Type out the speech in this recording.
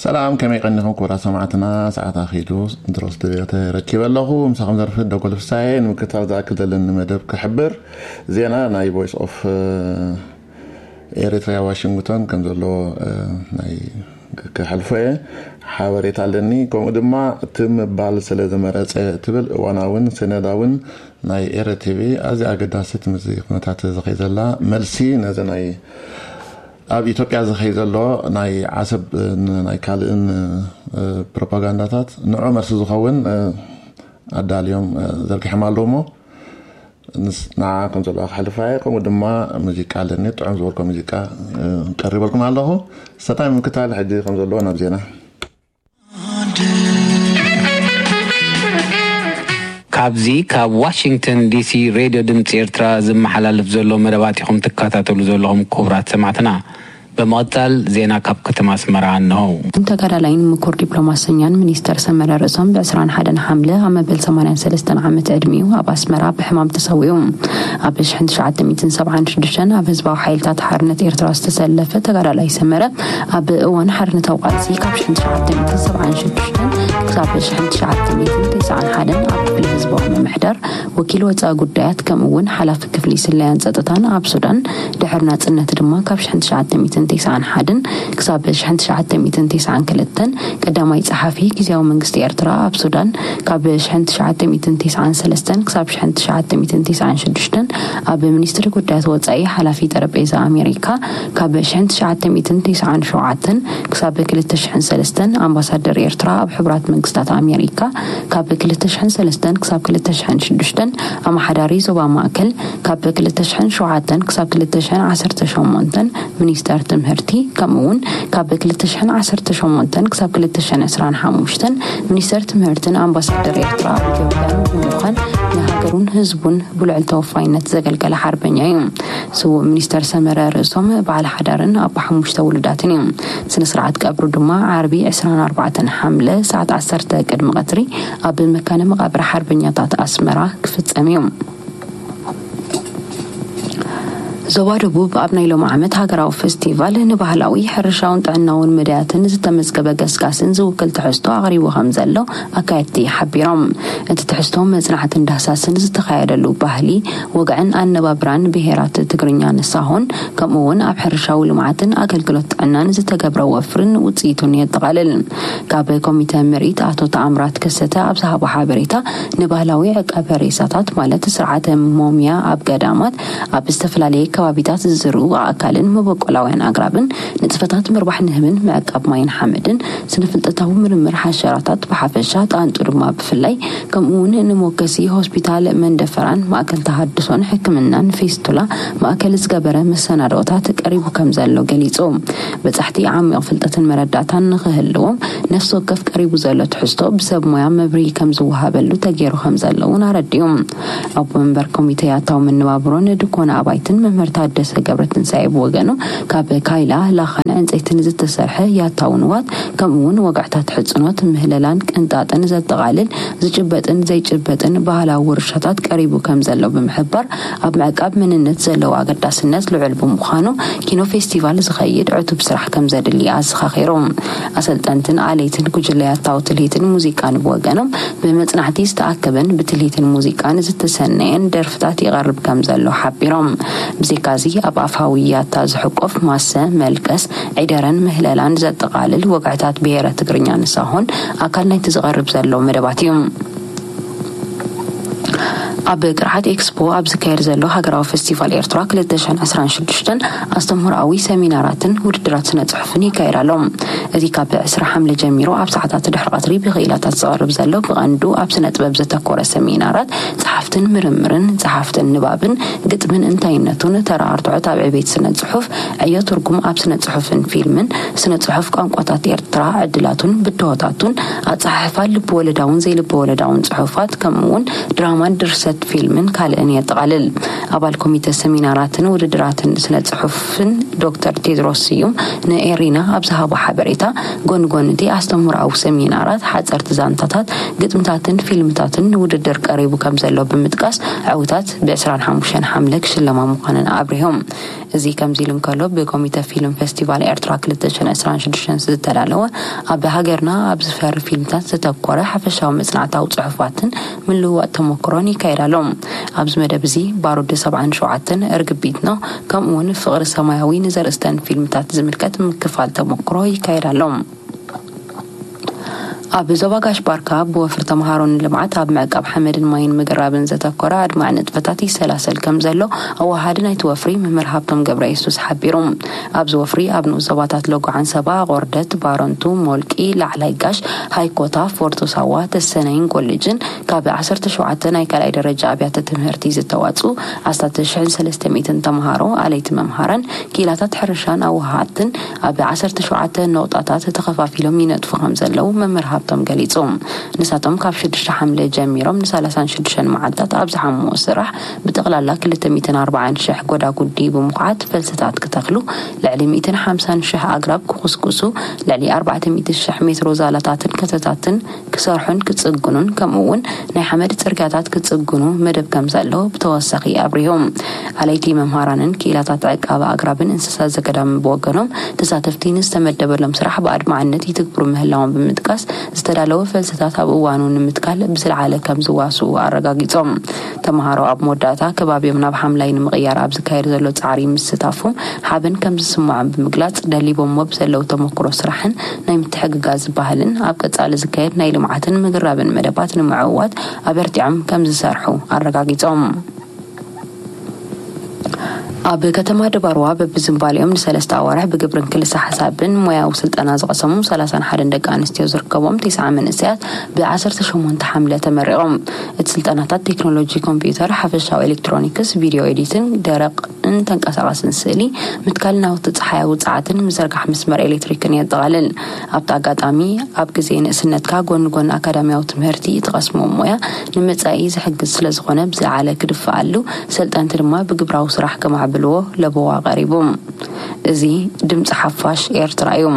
ሰላም፣ ከመይ ቀኒኹም ክቡራት ሰማዕትና? ሰዓት ኣኺሉ ድሮ ስቱድዮ ተረኪበ ኣለኹ። ምሳኹም ዘርፍድ ደጎል ፍሳየ። ንምክትታል ዝኣክል ዘለኒ መደብ ክሕብር፣ ዜና ናይ ቮይስ ኦፍ ኤሪትሪያ ዋሽንግቶን ከም ዘሎ ናይ ክሕልፎ እየ። ሓበሬታ ኣለኒ። ከምኡ ድማ እቲ ምባል ስለ ዝመረጸ ትብል እዋናውን ሰነዳውን ናይ ኤረ ቲቪ ኣዝያ ኣገዳሲት፣ ምስዚ ኩነታት ዝኸይ ዘላ መልሲ ነዚ ናይ ኣብ ኢትዮጵያ ዝኸይ ዘሎ ናይ ዓሰብ ናይ ካልእን ፕሮፓጋንዳታት ንዑ መልሲ ዝኸውን ኣዳልዮም ዘርጊሖም ኣለዉ። እሞ ንዓ ከም ዘለዋ ክሕልፋ እየ። ከምኡ ድማ ሙዚቃ ኣለኒ፣ ጥዑም ዝበልኮ ሙዚቃ ቀሪበልኩም ኣለኹ። ሰታይ ምክታል ሕጂ ከም ዘለዎ ናብ ዜና። ካብዚ ካብ ዋሽንግተን ዲሲ ሬድዮ ድምፂ ኤርትራ ዝመሓላለፍ ዘሎ መደባት ኢኹም ትከታተሉ ዘለኹም ክቡራት ሰማዕትና። ብምቕፃል ዜና ካብ ከተማ ኣስመራ እንሆ። ተጋዳላይን ምኩር ዲፕሎማሰኛን ሚኒስተር ሰመረ ርእሶም ብ ዕስራን ሓደን ሓምለ ኣብ መበል ሰማንያን ሰለስተን ዓመት ዕድሚኡ ኣብ ኣስመራ ብሕማም ተሰዊኡ። ኣብ ሽሕን ትሽዓተ ሚእትን ሰብዓን ሽዱሽተን ኣብ ህዝባዊ ሓይልታት ሓርነት ኤርትራ ዝተሰለፈ ተጋዳላይ ሰመረ ኣብ እዋን ሓርነታዊ ቃልሲ ካብ ሽሕን ትሽዓተ ሚእትን ሰብዓን ሽዱሽተን ክሳብ ሽሕን ትሽዓተ ሚእትን ተስዓን ሓደን ኣብ ክፍሊ ህዝባዊ ምምሕዳር ወኪል ወፃኢ ጉዳያት ከምኡ እውን ሓላፊ ክፍሊ ስለያን ፀጥታን ኣብ ሱዳን፣ ድሕሪ ናፅነት ድማ ካብ ሽሕን ትሽዓተ ሚእትን ተስዓን ሓደን ክሳብ ሽሕን ትሽዓተ ሚእትን ተስዓን ክልተን ቀዳማይ ፀሓፊ ግዝያዊ መንግስቲ ኤርትራ ኣብ ሱዳን፣ ካብ ሽሕን ትሽዓተ ሚእትን ተስዓን ሰለስተን ክሳብ ሽሕን ትሽዓተ ሚእትን ተስዓን ሽዱሽተን ኣብ ሚኒስትሪ ጉዳያት ወፃኢ ሓላፊ ጠረጴዛ ኣሜሪካ፣ ካብ ሽሕን ትሽዓተ ሚእትን ተስዓን ሸውዓተን ክሳብ ክልተ ሽሕን ሰለስተን ኣምባሳደር ኤርትራ ኣብ ሕቡራት መንግስታት ኣሜሪካ፣ ካብ ክልተ ሽሕን ሰለስተን ክሳብ ክልተ ሽሕን ሽዱሽተን ኣመሓዳሪ ዞባ ማእከል፣ ካብ ክልተ ሽሕን ሸውዓተን ክሳብ ክልተ ሽሕን ዓሰርተ ሸሞንተን ሚኒስተር ትምህርቲ፣ ከምኡ እውን ካብ ክልተ ሽሕን ዓሰርተ ሸሞንተን ክሳብ ክልተ ሽሕን ዕስራን ሓሙሽተን ሚኒስተር ትምህርትን ኣምባሳደር ኤርትራ ኣብ ኢትዮጵያን ብምዃን ንሃገሩን ህዝቡን ብልዑል ተወፋይነት ዘገልገለ ሓርበኛ እዩ። ስዉእ ሚኒስተር ሰመረ ርእሶም በዓል ሓዳርን ኣቦ ሓሙሽተ ውሉዳትን እዩ። ስነ ስርዓት ቀብሩ ድማ ዓርቢ ዕስራን ኣርባዕተን ሓምለ ሰዓት ዓሰርተ ቅድሚ ቀትሪ ኣብ መካነ መቓብር ሓርበኛታት ኣስመራ ክፍጸም እዩ። ዞባ ደቡብ ኣብ ናይ ሎሚ ዓመት ሃገራዊ ፈስቲቫል ንባህላዊ፣ ሕርሻውን ጥዕናውን መዳያትን ዝተመዝገበ ገስጋስን ዝውክል ትሕዝቶ ኣቕሪቡ ከም ዘሎ ኣካየድቲ ሓቢሮም። እቲ ትሕዝቶ መጽናዕትን ዳህሳስን ዝተኻየደሉ ባህሊ፣ ወግዕን ኣነባብራን ብሄራት ትግርኛን ሳሆን፣ ከምኡ እውን ኣብ ሕርሻዊ ልምዓትን ኣገልግሎት ጥዕናን ዝተገብረ ወፍርን ውጽኢቱን የጠቓልል። ካብ ኮሚተ ምርኢት ኣቶ ተኣምራት ከሰተ ኣብ ዝሃቦ ሓበሬታ፣ ንባህላዊ ዕቃበ ሬሳታት ማለት ስርዓተ ሞምያ ኣብ ገዳማት፣ ኣብ ዝተፈላለየ ከባቢታት ዝዝርኡ ኣእካልን መበቆላውያን ኣግራብን፣ ንጥፈታት ምርባሕ ንህብን ምዕቃብ ማይን ሓመድን፣ ስነ-ፍልጠታዊ ምርምር ሓሸራታት ብሓፈሻ፣ ጣንጡ ድማ ብፍላይ፣ ከምኡ እውን ንሞከሲ ሆስፒታል መንደፈራን ማእከል ተሃድሶን ሕክምናን ፌስቱላ ማእከል ዝገበረ መሰናድኦታት ቀሪቡ ከም ዘሎ ገሊጹ። በጻሕቲ ዓሚቕ ፍልጠትን መረዳእታን ንኽህልዎም ነፍሲ ወከፍ ቀሪቡ ዘሎ ትሕዝቶ ብሰብ ሞያ መብርሂ ከም ዝወሃበሉ ተገይሩ ከም ዘሎ እውን ኣረዲኡ። ኣቦ መንበር ኮሚተ ያታዊ መነባብሮን ድኮነ ኣባይትን መምህር ታደሰ ገብረትንሳኤ ብወገኑ፣ ካብ ካይላ፣ ላኻን ዕንፀይትን ዝተሰርሐ ያታዊ ንዋት፣ ከምኡ እውን ወግዕታት ሕፅኖት፣ ምህለላን ቅንጣጥን ዘጠቓልል ዝጭበጥን ዘይጭበጥን ባህላዊ ውርሻታት ቀሪቡ ከም ዘሎ ብምሕባር፣ ኣብ ምዕቃብ መንነት ዘለዎ ኣገዳስነት ልዑል ብምዃኑ፣ ኪኖ ፌስቲቫል ዝኸይድ ዕቱብ ስራሕ ከም ዘድሊ ኣዘኻኺሩ። ኣሰልጠንትን ኣለይትን ጉጅለ ያታዊ ትልሂትን ሙዚቃን ብወገኖም፣ ብመጽናዕቲ ዝተኣከበን ብትልሂትን ሙዚቃን ዝተሰነየን ደርፍታት ይቐርብ ከም ዘሎ ሓቢሮም። ብዘይካዚ፣ ኣብ ኣፋዊ ያታ ዝሕቆፍ ማሰ፣ መልቀስ፣ ዒደረን ምህለላን ዘጠቓልል ወግዕታት ብሄረ ትግርኛን ሳሆን ኣካል ናይቲ ዝቐርብ ዘሎ መደባት እዩ። ኣብ ቅርዓት ኤክስፖ ኣብ ዝካየድ ዘሎ ሃገራዊ ፈስቲቫል ኤርትራ ክልተ ሽሕን ዕስራን ሽዱሽተን ኣስተምህሮኣዊ ሰሚናራትን ውድድራት ስነ ጽሑፍን ይካየድ ኣሎ። እቲ ካብ ዕስራ ሓምለ ጀሚሩ ኣብ ሰዓታት ድሕሪ ቀትሪ ብክኢላታት ዝቐርብ ዘሎ ብቐንዱ ኣብ ስነ ጥበብ ዘተኮረ ሰሚናራት ጸሓፍትን ምርምርን፣ ጸሓፍትን ንባብን፣ ግጥምን እንታይነቱን፣ ተራ ኣርትዖት ኣብ ዕቤት ስነ ጽሑፍ፣ ዕዮ ትርጉም ኣብ ስነ ጽሑፍን ፊልምን፣ ስነ ጽሑፍ ቋንቋታት ኤርትራ፣ ዕድላቱን ብድሆታቱን፣ ኣጸሓሕፋ ልብ ወለዳውን ዘይልብ ወለዳውን ጽሑፋት፣ ከምኡ እውን ድራማን ድርሰት ፊልምን ካልእን የጠቓልል። ኣባል ኮሚተ ሰሚናራትን ውድድራትን ስነ ጽሑፍን ዶክተር ቴድሮስ ስዩም ንኤሪና ኣብ ዝሃቦ ሓበሬታ፣ ጎኒ ጎኒ እቲ ኣስተምህሮኣዊ ሰሚናራት፣ ሓጸርቲ ዛንታታት፣ ግጥምታትን ፊልምታትን ንውድድር ቀሪቡ ከም ዘሎ ብምጥቃስ፣ ዕውታት ብ25 ሓምለ ክሽለማ ምዃነን ኣብሪሆም። እዚ ከምዚ ኢሉ እንከሎ፣ ብኮሚተ ፊልም ፌስቲቫል ኤርትራ ክልተ ሽሕን ዕስራን ሽዱሽተን ዝተዳለወ፣ ኣብ ሃገርና ኣብ ዝፈሪ ፊልምታት ዘተኮረ ሓፈሻዊ መጽናዕታዊ ጽሑፋትን ምልውዋጥ ተመክሮን ይካየድ ኣሎ። ኣብዚ መደብ እዚ ባሩድ ሰብዓን ሸውዓተን፣ እርግቢት ነው፣ ከምኡ እውን ፍቕሪ ሰማያዊ ንዘርእስተን ፊልምታት ዝምልከት ምክፋል ተመክሮ ይካየድ ኣሎ። ኣብ ዞባ ጋሽ ባርካ ብወፍሪ ተምሃሮ ንልምዓት ኣብ ምዕቃብ ሓመድን ማይን ምግራብን ዘተኮረ ኣድማዒ ንጥፈታት ይሰላሰል ከም ዘሎ ኣወሃሃዲ ናይቲ ወፍሪ መምህር ሃብቶም ገብረ የሱስ ሓቢሩ። ኣብዚ ወፍሪ ኣብ ንኡስ ዞባታት ሎጎ ዓንሰባ፣ ቆርደት፣ ባረንቱ፣ ሞልቂ፣ ላዕላይ ጋሽ፣ ሃይኮታ፣ ፎርቶ ሳዋ፣ ተሰነይን ኮሌጅን ካብ ዓሰርተ ሸውዓተ ናይ ካልኣይ ደረጃ ኣብያተ ትምህርቲ ዝተዋፅኡ ኣስታት ሽሕን ሰለስተ ሚእትን ተምሃሮ ኣለይቲ መምሃራን ክኢላታት ሕርሻን ኣወሃሃድትን ኣብ ዓሰርተ ሸውዓተ ነቑጣታት ተኸፋፊሎም ይነጥፉ ከም ዘለዉ መምህር ሃብቶም ገሊጹ። ንሳቶም ካብ ሽዱሽተ ሓምለ ጀሚሮም ንሰላሳን ሽዱሽተን መዓልታት ኣብ ዝሓምዎ ስራሕ ብጠቕላላ ክልተ ሚእትን ኣርባዓን ሽሕ ጎዳጉዲ ብምኹዓት ፈልስታት ክተኽሉ፣ ልዕሊ ሚእትን ሓምሳን ሽሕ ኣግራብ ክኹስኩሱ፣ ልዕሊ ኣርባዕተ ሚእቲ ሽሕ ሜትሮ ዛላታትን ከተታትን ክሰርሑን ክጽግኑን፣ ከምኡ እውን ናይ ሓመድ ጽርግያታት ክጽግኑ መደብ ከም ዘሎ ብተወሳኺ ኣብሪሆም። ኣለይቲ መምሃራንን ክኢላታት ዕቃበ ኣግራብን እንስሳ ዘገዳምን ብወገኖም፣ ተሳተፍቲ ንዝተመደበሎም ስራሕ ብኣድማዕነት ይትግብሩ ምህላዎም ብምጥቃስ፣ ዝተዳለወ ፈልስታት ኣብ እዋኑ ንምትካል ብዝለዓለ ከም ዝዋስኡ ኣረጋጊጾም። ተምሃሮ ኣብ መወዳእታ ከባቢኦም ናብ ሓምላይ ንምቕያር ኣብ ዝካየድ ዘሎ ጻዕሪ ምስታፎም ሓበን ከም ዝስምዖም ብምግላጽ፣ ደሊቦሞ ብዘለዉ ተመክሮ ስራሕን ናይ ምትሕግጋዝ ባህልን ኣብ ቀጻሊ ዝካየድ ናይ ልምዓትን ምግራብን መደባት ንምዕዋት ኣበርቲዖም ከም ዝሰርሑ ኣረጋጊጾም። ኣብ ከተማ ድባርዋ በብዝንባሌኦም ንሰለስተ ኣዋርሕ ብግብርን ክልሰ ሓሳብን ሞያዊ ስልጠና ዝቐሰሙ ሰላሳን ሓደን ደቂ ኣንስትዮ ዝርከቦም ተስዓ መንእሰያት ብ ዓሰርተ ሸሞንተ ሓምለ ተመሪቖም። እቲ ስልጠናታት ቴክኖሎጂ ኮምፒውተር፣ ሓፈሻዊ ኤሌክትሮኒክስ፣ ቪድዮ ኤዲቲንግ፣ ደረቕን ተንቀሳቓስን ስእሊ፣ ምትካል ናውቲ ጸሓያዊ ጸዓትን ምዝርጋሕ መስመር ኤሌክትሪክን የጠቓልል። ኣብቲ ኣጋጣሚ፣ ኣብ ግዜ ንእስነትካ ጎኒ ጎኒ ኣካዳሚያዊ ትምህርቲ እትቐስሞ ሞያ ንመጻኢ ዝሕግዝ ስለ ዝኾነ ብዝለዓለ ክድፍኣሉ፣ ሰልጠንቲ ድማ ብግብራዊ ስራሕ ከማዕብልዎ ለበዋ ቀሪቡ። እዚ ድምጺ ሓፋሽ ኤርትራ እዩ።